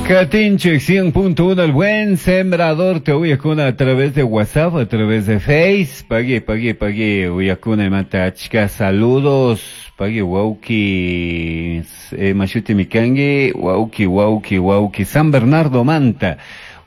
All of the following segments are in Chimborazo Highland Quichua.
Katinchik 100.1 el buen sembrador te uyakuna a través de WhatsApp, a través de Face. Pagui, pagui, pagui, uyakuna imata achka saludos. Pagui, wauki, mashuti mikangi, wauki, wauki, wauki, San Bernardo Manta.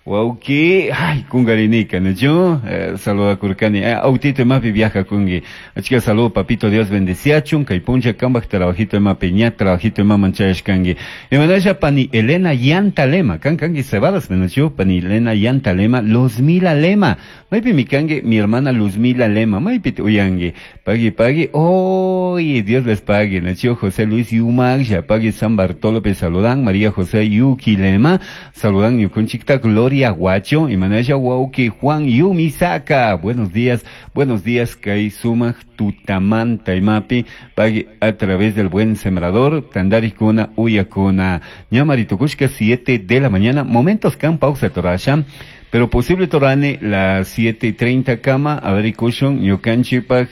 Wauki, ay, kungarinika, ¿no? Saluda kurkani, autito mapi viaja kungi. Achka saludo, papito, Dios bendeciachun, kaypuncha kambaj trabajito ema peña, trabajito ema manchayashkangi. Emanasha pani Elena Yantalema, kan kangi cebadas, menachu, pani Elena Yantalema, Luzmila Lema. Maypi mikangi, mi hermana Luzmila Lema, maypi uyangi. Pagui, pagui, oye, Dios les pague, nació José Luis Yumag, pagui San Bartolo, saludan, María José Yuki Lema, saludan Yukunchikta, Gloria Guacho, y Manaya Wauki, Juan Yumisaka. Buenos días, Kai Sumaj, Tutamán, Taimapi, pagui a través del buen sembrador, Tandarikuna, Uyakuna, Ñamaritukushka, 7 de la mañana, momentos can pausa torasha. Pero posible torane las 7:30 cama, a ver, kushun, ñukanchipaj,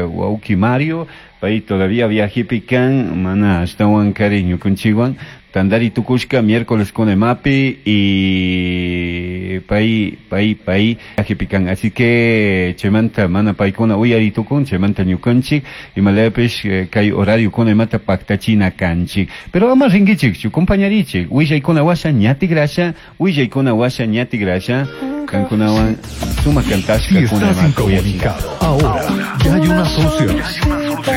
Wauki Mario, pay todavía viaje pican, mana, ashtawan kari ñukunchiwan, Tandari tukushka, miércoles con emapi y pay, pay, pay, viaje pican. Así que, chemanta, mana paykuna uyari tukun, chemanta ñukanchik, y malayapish, kay horario con emata pactachina kanchik. Pero ama ringichik, chu compañarichik, willaykuna washa ñati grasha, willaykuna washa ñati grasha, kankunawan suma kantashka Si estás kuna emata uyachik. incomunicado, ahora ya hay una solución.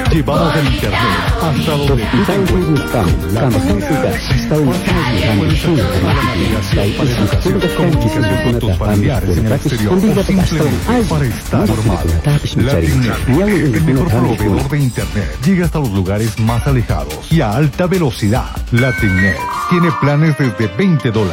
Llevamos el internet hasta donde tú te encuentras. Comunicación con tus familiares en el exterior o simplemente para estar informado. Latinet, el mejor proveedor de internet, llega hasta los lugares más alejados y a alta velocidad. Latinet tiene planes desde $20.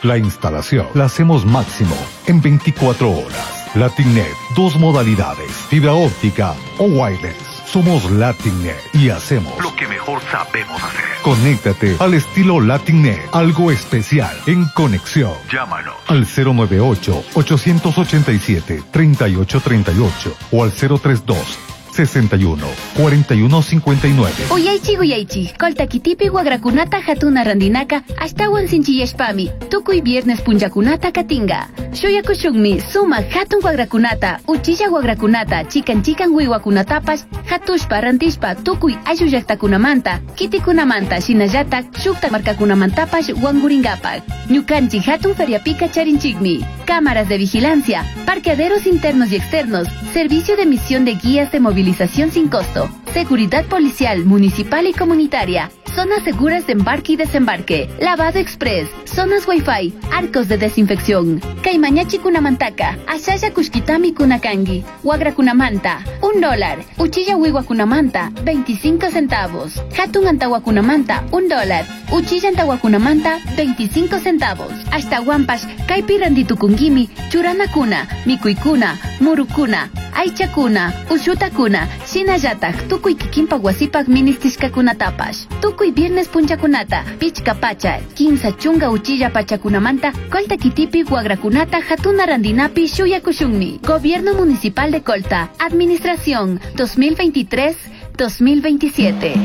La instalación la hacemos máximo en 24 horas. Latinet, dos modalidades, fibra óptica o wireless. Somos Latinet y hacemos lo que mejor sabemos hacer. Conéctate al estilo Latinet, algo especial en conexión. Llámanos al 098-887-3838 o al 032 61 41 59. Uyaychi uyaychi, koltakitipi wagrakunata hatuna randinaka, ashtawan sinchiyashpami, tukuy viernes punllakunata katinga. Shuyakushunmi, suma hatun wagrakunata, uchilla wagrakunata, chikan chikan wiwakunatapash, hatushpa rantishpa, tukuy ayllu llaqtakunamanta, kitikunamanta, shinallatak, shukta markakunamantapash wanguringapak. Ñukanchik hatun feriapika charinchikmi, cámaras de vigilancia, parqueaderos internos y externos, servicio de emisión de guías de movilización sin costo, seguridad policial, municipal y comunitaria, zonas seguras de embarque y desembarque, lavado express, zonas wifi, arcos de desinfección. Caimañachi kunamantaka, Ashaya kushkitami kunakangi, Huagra kunamanta, $1, Uchilla wiwa kunamanta, 25 centavos, Hatun antawa kunamanta, $1, Uchilla antawa kunamanta, 25 centavos, Hasta guampas, kaipi randitukungimi, churana kuna, mikuykuna, murukuna, aychakuna, ushutakuna, shinallatak, tukuy kikinpak wasipak ministishkakunatapash. Tukuy viernes punchakunata, pichka pacha, 15 chunga uchilla pachakunamanta, Colta kitipi wagrakunata hatuna randinapi shuyakushunmi. Gobierno Municipal de Colta, Administración 2023-2027.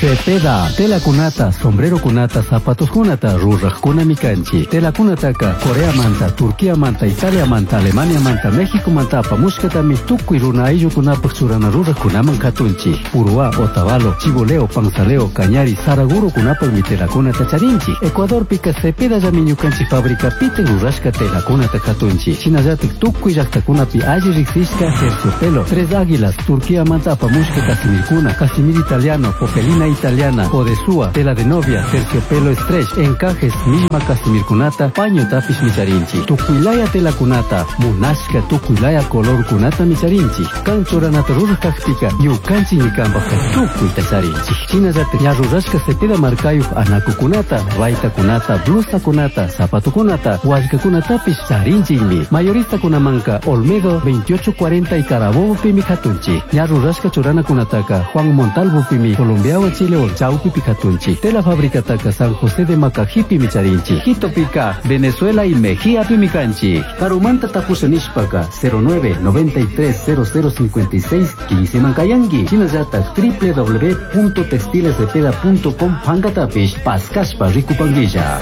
Cepeda, tela kunata, sombrero kunata, zapatos kunata, ruraj kunamikanchi. Tela kunataka, Corea manta, Turquía manta, Italia manta, Alemania manta, México manta, apamushkatami, tukuy runa ayllu kunapaj churana ruraj kunaman katunchi. Uruá, Otavalo, Chiboleo, Panzaleo, Cañari, Saraguro kunapaj mi tela kunata charinchi. Ecuador pika Cepeda yamiñukanchi fábrica pite rurashka tela kunata katunchi. Shinallatik tukuy llaqtakunapi alli riqsishka terciopelo, Tres Águilas, Turquía manta, apamushka casimirkuna, casimir italiano, popelina italiana, odesúa, tela de novia, terciopelo stretch, encajes, misma casimirkunata, paño tapis micharinchi, tukuilaya tela kunata, munashka tukuilaya color kunata micharinchi, kanchoranata rurajkajpika, ñukanchi ñikanpajka tukuyta charinchi. Shinallata ñarrurashka cepeda markayuj anakukunata, baytakunata, blusakunata, zapatukunata, wallkakunatapis charinchikmi. Mayorista kunamanka, Olmedo 2840 y Carabobo pimi katunchi, ñarrurashka churanakunataka, Juan Montalvo pimi, Colombia Chilewan chawpipi katunchik. Tela fabricataka San José de Macajipimi charinchik. Quitopika Venezuela y Mejíapimi kanchik. Karumanta tapusha nishpaka 09 93 0056 15 mankayanki. Shinallatak www.textilescepeda.com pankatapish paskashpa rikupankilla.